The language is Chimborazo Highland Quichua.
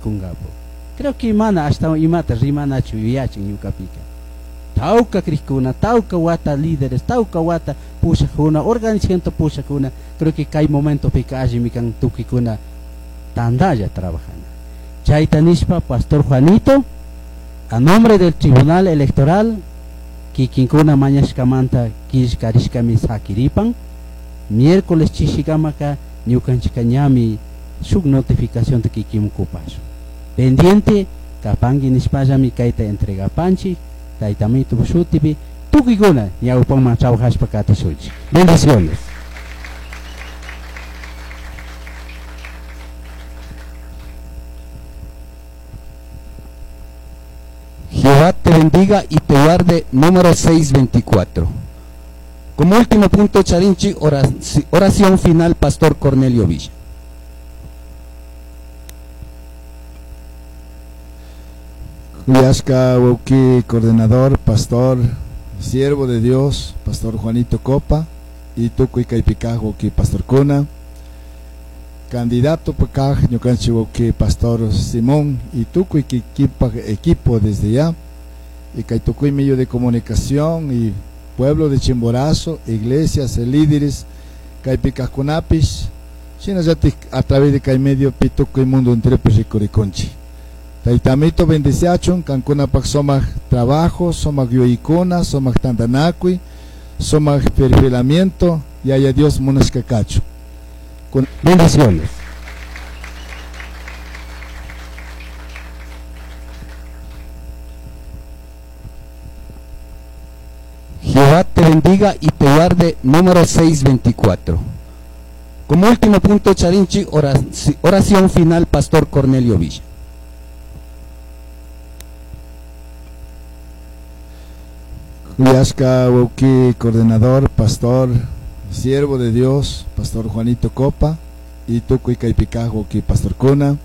Ricungapu. Creo que mana ashtawan imata rimanachu yuyachin ñukapika. Tawka krikuna, tawka wata líderes, tawka wata pushakuna, organización pushakuna, creo que kay momentopika allimi kan tukuykuna tandalla trabajana. Chayta nishpa, Pastor Juanito, a nombre del Tribunal Electoral, kikinkuna mañashkamanta killkarishkami sakiripan, miércoles chishikamaka ñukanchika ñami shuk notificación kikin kupashun. Pendiente, kapanki nishpallami kayta entregapanchik, taytamito shutipi, tukuykuna ñawpaman trabajashpa katishunchik. Bendiciones. Jehová te bendiga y te guarde, número 624. Como último punto, Charinchi, oración final, Pastor Cornelio Villa. Kuyashka wawki, coordinador, pastor, siervo de Dios, Pastor Juanito Copa, y tukuy kaypi kaj wawki pastorkuna, candidato pakaj ñukanchik wawki Pastor Simón, y tukuy equipo desde ya, y kay tukuy medio de comunicación, y pueblo de Chimborazo, iglesias, líderes, kaypi kajkunapish, shinallatik a través de kay medio pi tukuy mundo entero rikurikunchik. Taytamito bendiciachun, kankunapak sumak trabajo, sumak yuyaykuna, sumak tantanakuy, sumak perfilamiento, Yaya Dios munashka kachun. Con bendiciones. Jehová te bendiga y te guarde, número 624. Como último punto, Charinchi, oración final, Pastor Cornelio Villa. Kuyashka wawki, coordinador, pastor, siervo de Dios, Pastor Juanito Copa, y tukuy kaypi kaj wawki pastorkuna,